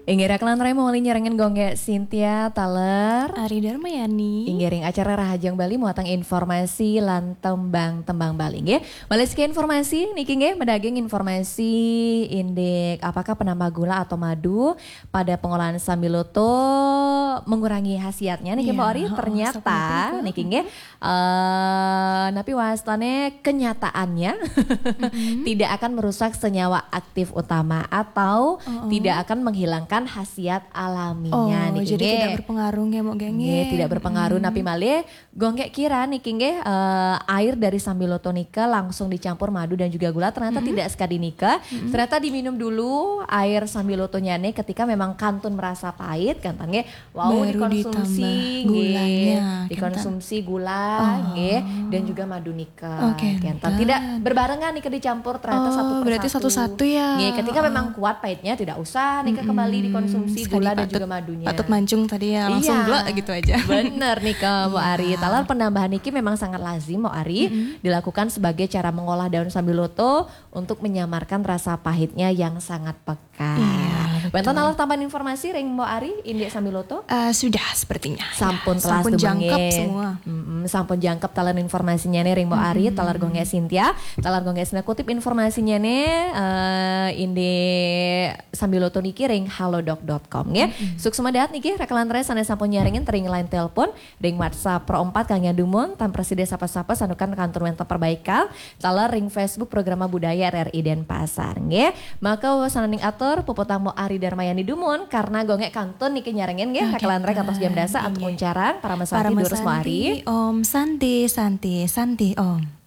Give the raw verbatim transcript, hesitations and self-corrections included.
Inggih, rekan lantarai mawali nyarengin Gung Gé Sintia taler. Ari Darmayani. Inggih, ring acara Rahajeng Bali muatang informasi lan tembang-tembang Bali, nggih. Malih siki informasi niki, nggih, madaging informasi indik apakah penambah gula atau madu pada pengolahan sambiloto mengurangi khasiatnya niki, Mbok Ari? Ternyata niki, nggih, eh napi wastane kenyataannya tidak akan merusak senyawa aktif utama atau tidak akan menghilangkan khasiat alaminya. Oh, jadi tidak berpengaruh, nggih, Mbok Gé? Nggih, tidak berpengaruh. Napi malih, Gung Gé kira niki, nggih, eh, air dari sambiloto nika langsung dicampur madu dan juga gula, ternyata tidak sekadi nika. Ternyata diminum dulu air sambilotonyane ketika memang kantun merasa pahit, kantun, nggih, wau dikonsumsi, nggih, dikonsumsi gula, nggih, dan juga madu nika. Kenten. Tidak berbarengan nika dicampur, ternyata satu persatu. Berarti satu-satu, ya. Nggih, ketika memang kuat pahitnya, tidak usah nika kembali dikonsumsi gula dan juga madunya. Patut mancung tadi, ya, langsung gula gitu aja. Bener nika, Mbok Ari. Taler penambahan niki memang sangat lazim, Mbok Ari, dilakukan sebagai cara mengolah daun sambiloto untuk menyamarkan rasa pahitnya yang sangat pekat. Wenten taler tambahan informasi ring Mbok Ari indik sambiloto? Eh, sudah sepertinya. Sampun telas, sampun jangkep semua. Mm-mm, sampun jangkep taler informasinyane ring Mbok Ari, taler Gung Gé Sintia, taler Gung Gé Sintia kutip informasinyane, eh, indik sambiloto niki ring halodoc dot com, nggih. Suksma dahat niki rekan lantarai sane sampun nyarengin ring line telepon, ring WhatsApp Pro empat kangge dumun, tan prasida sapa-sapa santukan kantun wenten perbaikan, taler ring Facebook Programa Budaya R R I Denpasar, nggih. Maka wasananing atur puputang Mbok Ari Darmayani dumun, karena Gung Gé kantun niki nyarengin, nggih, rekan lantarai kantos jam dasa antuk nguncarang, parama santi durus, Mbok Ari. Om Santi, Santi, Santi Om.